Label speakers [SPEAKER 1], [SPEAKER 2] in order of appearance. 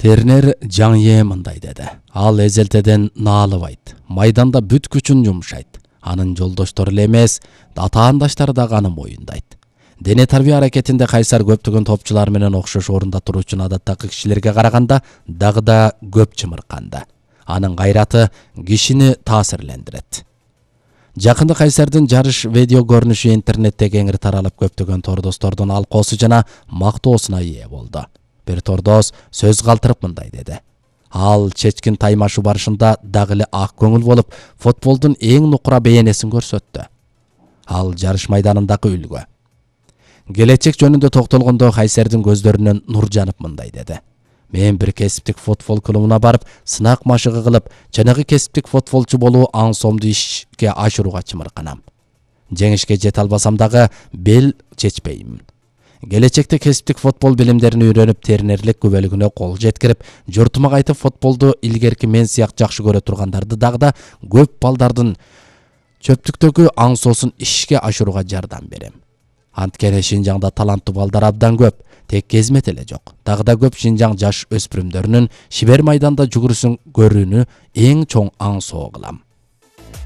[SPEAKER 1] Тернер Жаңе мындай деди. Ал эзелтеден наалыбайт, майданда бүт күчүн жумшайт. Анын жолдоштору эле эмес, атаандаштары дагы аны моюндайт. Дене тарбия аракетинде кайсар көптөгөн топчулар менен окшош орунда туруучу адаттагы кишилерге караганда дагы да көп чымырканды. Анын кайраты кишини таасирлендирет. Жакында Кайсардын жарыш видео көрүнүшү интернетте кеңири таралып, көптөгөн тордостордун алкоосу жана мактоосуна ээ болду. Бир тордос сөз калтырып мындай деди. Ал чечкин таймашуу барышында дагы эле ак көңүл болуп, футболдун эң нукура бейнесин көрсөттү. Ал жарыш майданындагы үлгү. Келечек жөнүндө токтолгондо Кайсардын көздөрүнөн нур жанып мындай деди. Мен бир кесиптик футбол клубуна барып, сынак машыгы кылып, жанагы кесиптик футболчу болуу аңсоомду ишке ашырууга чымырканам. Жеңишке жете албасам дагы бел чечпеймин. Келечекте кесиптик футбол билимдерин үйрөнүп, тернерлик күбөлүгүнө кол жеткирип, журтума кайтып футболду илгерки мен сыяк жакшы көрө тургандарды дагы да көп балдардын чөптүктөгү аңсоосун ишке ашырууга жардам берем. Анткени Шинжаңда таланттуу балдар абдан көп, тек кезмет эле жок. Дагы да көп Шинжаң жаш өспүрүмдөрүнүн шибер майданда жүгүрүшүн көрүүнү эң чоң аңсоо кылам.